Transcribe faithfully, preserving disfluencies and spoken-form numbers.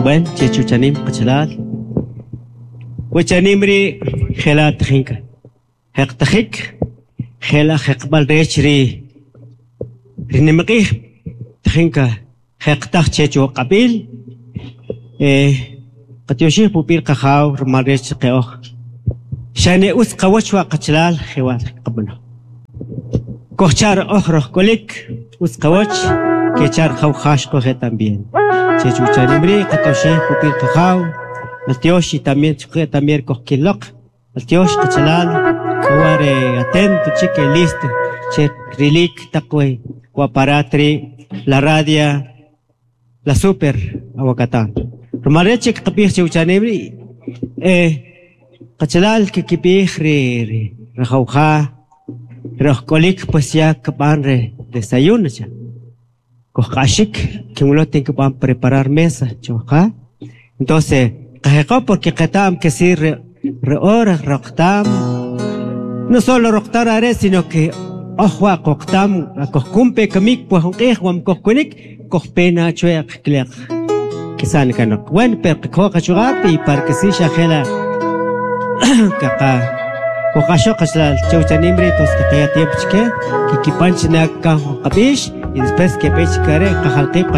Bueno, chech uchanim qachalal. Wachanim ri jela tajinka. Jeqtajik jela jeqb'al rech ri rinimq'ij tajinka jeqtaj chech uq'ab'il eh qatyoxij pupil qajaw rmal rech qe'oj xane utz qawach wa qachalal jewa' qab'ano kojchar oj roj k'olik utz qawach kechar jaw jax qoje también chech uchanim ri' qatyoxij pupil qajaw maltyox y también chuqe también kojkiloq maltyox qachalal k'o re atento chik listo che rilik taq we aparat ri' la radio la super awakatan rumal rech che qapij che uchanim ri' eh qachalal kikipij ri ri rajawja roj k'olik pues ya kb'an re desayuno cha kojq'axik kinwilo tin kb'an preparar mesa chawja entonces qajeqo porque qeta'm que si re re hora roqtam no solo roqtar are sino que oj wa qoqtam kojkumpe kamik pues jun q'ij wam kojkunik kojpena chweq kleq kisan kanoq bueno pero qkoj qachuq'ab' y para que si xajela kaqa kojq'axoq qachalal chawchanim ri' tos qaya tiempo chke kikipan china kan jun qab'ix y después kep'e chikare qajalqib'